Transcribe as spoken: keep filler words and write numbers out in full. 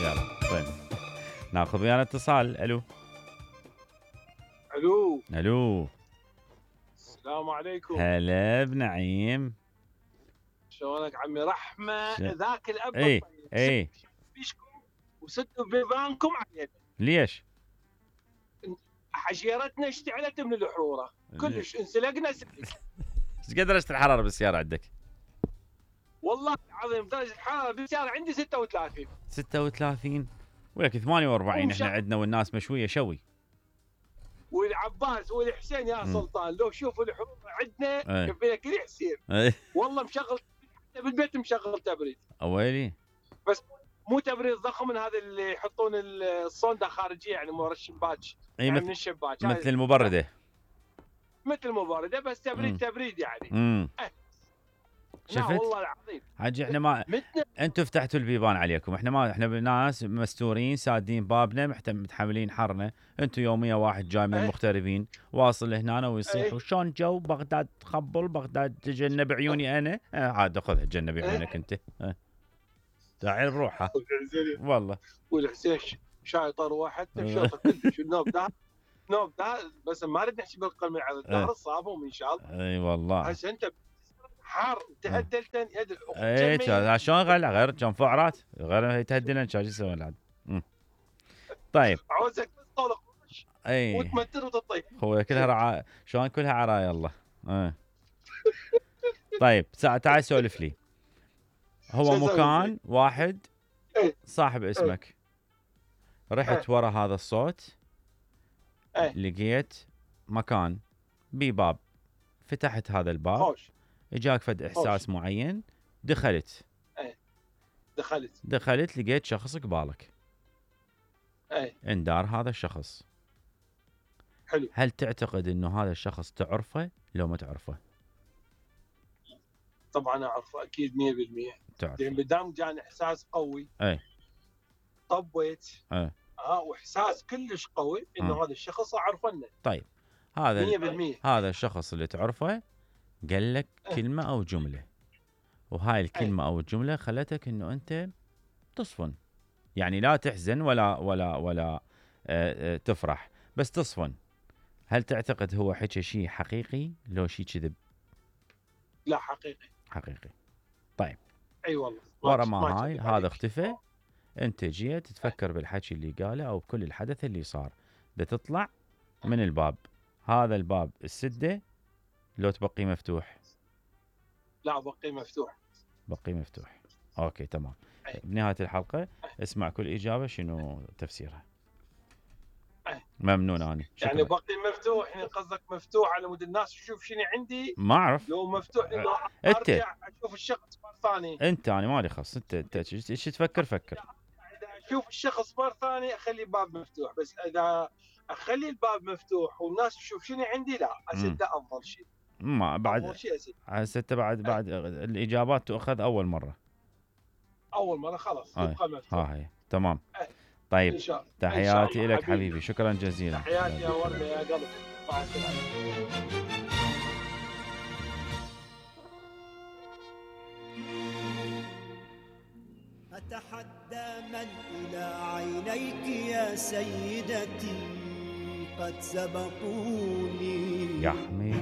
يلا طيب ناخذ ويانا اتصال. الو الو الو السلام عليكم. هلا بنعيم، شلونك عمي رحمه؟ ش... ذاك الاب اي الطيب اي فيشكم وسدوا بيبانكم علينا. ليش؟ حشيرتنا اشتعلت من الحروره كلش، انسلقنا سلق. ايش قد درجه الحراره بالسياره عندك؟ والله العظيم درجه الحراره بالسياره عندي ستة وثلاثين. ستة وثلاثين وياك ثمانية وأربعين احنا عندنا والناس مشويه شوي. والعباس والحسين يا سلطان لو شوفوا الحروره عندنا كفينا كل حسين. والله مشغل بالبيت، مشغل تبريد. اويلي بس مو تبريد ضخم من هذا اللي يحطون الصوندا خارجيه يعني مو الشباك. اي يعني مثل من الشباك مثل المبرده. مثل المبرده بس تبريد مم. تبريد يعني. امم أه. شفت؟ والله العظيم حاجي احنا ما انتم فتحتوا البيبان عليكم، احنا ما احنا ناس مستورين سادين بابنا متحملين حرنا. انتم يوميا واحد جاي من المغتربين واصل لهنا ويصيح وشون جو بغداد تخبل بغداد تجنب عيوني انا. اه عاد خذها تجنب عيونك انت. اه تعال بروحها والله. والحسين شايطر واحد شاطر كلش النوب ده نوب ده بس ما اريد نحكي بالقلم على الظهر الصابهم ان شاء الله. اي والله هسه انت حار تهدلتن يد اي شلون غير غير كم فعرات غير تهدلن شو يسوي العاد. طيب عاوزك تطلق اي وتمتر وتطيب هو كلها رعا شلون كلها عرايا الله. اه طيب تعال سولف لي. هو مكان واحد صاحب اسمك، رحت ورا هذا الصوت لقيت مكان بباب، فتحت هذا الباب اجاك فد احساس معين، دخلت ايه دخلت دخلت لقيت شخص قبالك. ايه اندار هذا الشخص. حلو. هل تعتقد انه هذا الشخص تعرفه لو ما تعرفه؟ طبعا اعرفه اكيد مية بالمية. تعرف لان بدام جاني احساس قوي اي طبيت اي اه واحساس كلش قوي انه م. هذا الشخص اعرفنه. طيب هذا مية بالمية هذا الشخص اللي تعرفه قال لك أه. كلمه او جمله، وهاي الكلمه أه. او الجمله خلتك انه انت تصفن، يعني لا تحزن ولا ولا ولا آه آه تفرح بس تصفن. هل تعتقد هو حكى شيء حقيقي لو شيء كذب؟ لا حقيقي. حقيقي. طيب اي أيوة والله ورا ما هاي هذا اختفى، انت جيت تفكر أه. بالحكي اللي قاله او بكل الحدث اللي صار، بتطلع من الباب. هذا الباب السده لو تبقي مفتوح؟ لا بقي مفتوح. بقي مفتوح. اوكي تمام. أي. بنهايه الحلقه اسمع كل اجابه شنو تفسيرها. أي. ممنون اني. يعني بقي مفتوح يعني قصدك مفتوح على مود الناس تشوف شنو عندي؟ ما اعرف. لو مفتوح انه انت ارجع اشوف الشخص مره ثانيه. انت انا مالي خص، انت انت ايش تفكر فكر. اذا اشوف الشخص مره ثانيه اخلي الباب مفتوح، بس اذا اخلي الباب مفتوح والناس تشوف شنو عندي لا اسد افضل شيء. ما بعد هسه بعد بعد الاجابات تؤخذ اول مره. اول مره خلاص يبقى مفتوح. ها هي تمام. أي. طيب تحياتي لك حبيبي. حبيبي شكرا جزيلا. تحياتي يا ورده يا قلب. مع السلامه. أتحدى من إلى عينيك يا سيدتي قد سبقوني يحمي